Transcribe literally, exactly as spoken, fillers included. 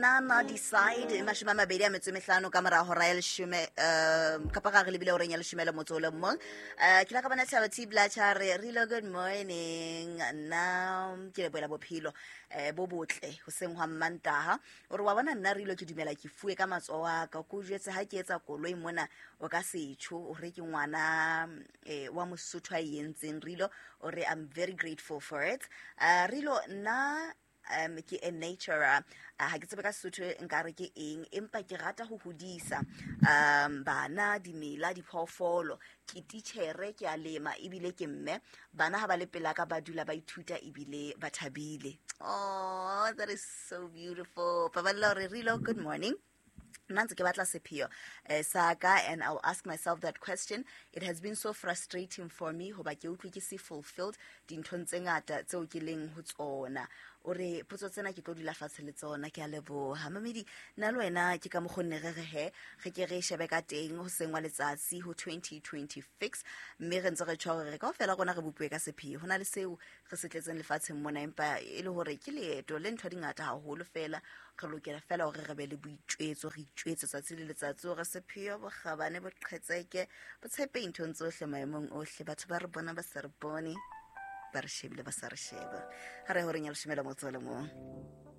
Nana decide mashome a mabedi a metso e mehlano ka mora hora ya leshome, um kapa ga re lebile horeng ya leshome le motso o le mong. um ke la ka bona Thabo T Blatcha re rilo, good morning. Nna ke lebohela bophelo um bo botle hoseng hwa Mmantaha. O re wa bona nna rilo ke dumela ke fuwe ka matsoho a ka, ko jwetse ha ke etsa koloi mona o ka setjho o re ke ngwana um wa Mosotho a e entseng. Rilo o re I'm very grateful for it. uh, rilo nna um ke a naturer, ha ke tsebe ka Sesotho nkare ke eng, empa ke rata ho hodisa um bana, dimela, diphoofolo. Ke titjhere, ke a lema ebile ke mme. Bana ha ba le pela ka ba dula ba ithuta ebile ba thabile. Oh, that is so beautiful. Paballo re rilo, good morning. Nna ntse ke batla sepheo eh, sa ka, and I'll ask myself that question. It has been so frustrating for me hoba ke utlwe ke se fulfilled dinthong tse ngata tseo ke leng ho tsona. O re potso tsena ke tlo dula fatshe le tsona. Ke a leboha mamedi. Nna le wena ke ka mokgonne re re he re ke re shebe ka teng ho seng wa letsatsi ho twenty twenty-six, mme re ntse re tjho hore kaofela rona re bopuwe ka sepheo. Ho na le seo re se tletseng lefatsheng mona, empa e le hore ke leeto le ntho di ngata haholo fela. Re lokela fela hore re be le boitjwetso, re itjwetse tsatsi le letsatsi hore sepheo, bokgabane, boqhetseke, botshepehi nthong tsohle, maemong ohle. Batho ba re bona ba sa re bone, ba re shebile ba sa re sheba. Ha re horeng ya leshome le motso o le mong.